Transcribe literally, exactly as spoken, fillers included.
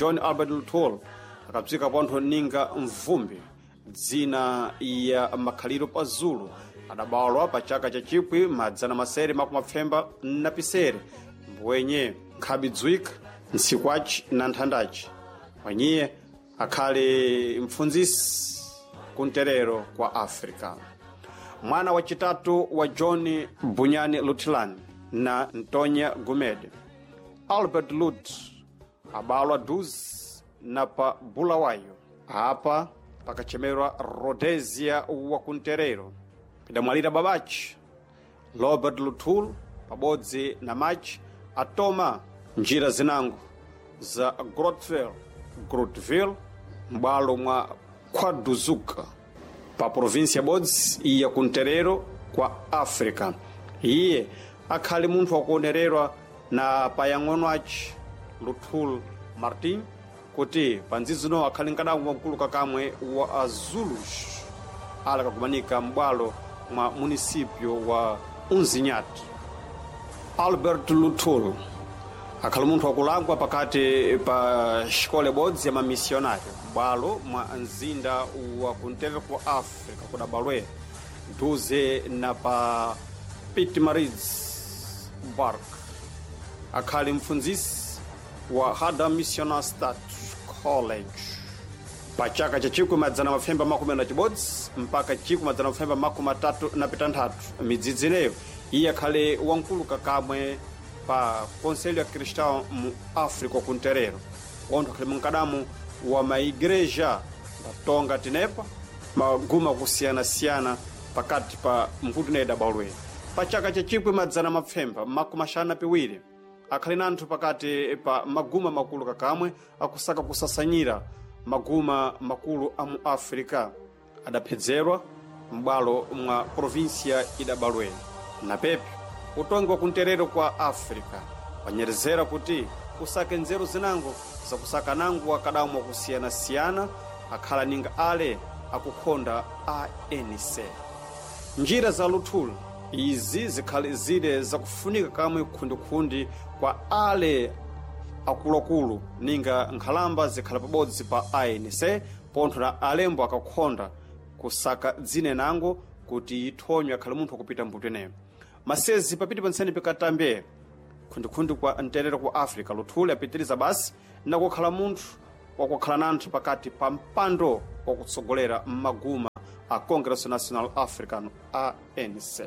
John Albert Luthuli akabzika pontho ninga mvumbi, dzina ya makhaliro pa Zulu, adabalwa pa chaka cha chipwi madzana masere makumi mapfemba na pisere, mbwenye nkhabidzwika ntsiku na nthandaci. Wanyiye akhali mpfundzisi kunterero kwa Africa. Mwana wacitatu wa John Bunyani Luthilani na Ntonya Gumede. Albert Lut abalwa duzi na pa Bulawayo, apa pakachemerwa Rhodesia wa kunterero. Pidamwalira babaci Robert Luthuli pabodzi na machi atoma njira zinango za Grotville, Grotville m'bwalo mwa KwaDuzuka pa provinsia bodzi iya kunterero kwa Africa. Iye akhali munthu wakuonererwa na payang'ono aci Luthuli Martin kuti pandzizino akhali mkadambo wamkulu kakamwe wa Azulus ala kakumanika m'bwalo mwa munisipyo wa Unzinyati. Albert Luthuli akhali munthu wakulangwa pakati pa xikole bodzi ya mamisionário bwalo mwa mzinda wa kunteve ku Africa kudabalwe duze na pa Pietermaritzburg. Akhali mpfundzisi wa Hada Missionary State College pa chaka cha chikwi madzana mapfemba makumi na chibodzi mpaka chikwi madzana mapfemba makumi atatu na pitanthatu. Midzidzi ineyo iye akhali wamkulu kakamwe pa Conselho ya Cristão mu África kunterero, ontho akhali munkadamu wa maigreja ndatonga tinepa maguma kusiyanasiyana pakati pa mvuto ineyo idabalwe. Pa chaka cha chikwi madzana mapfemba makumi axanu na piwiri akhali nanthu pakati pa maguma makulu kakamwe akusaka kusasanyira maguma makulu a mu África adaphedzerwa m'bwalo mwa provinsia idabalwe. Na pepe utongi wa kunterero kwa África wanyerezera kuti usake nzeru zinango zakusaka nango wakadamu wakusiyanasiyana akhala ninga ale akukhonda A N C. Njira za Luthuli izi zikhali zile zakufunika kamwe khundikhundi kwa ale akuluakulu ninga nkhalamba zikhala pabodzi pa A N C, pontho na alembo akakhonda kusaka dzine nango kuti ithonywe akhale munthu wakupita mbuto ineyo. Masezi papiti pansene pikatambe khundikhundi kwa mterero ku Africa, Luthuli apitiriza basi nakukhala munthu wakukhala nanthu pakati pa mpando wakutsogolera mmaguma a Congresso Nacional Africano, A N C.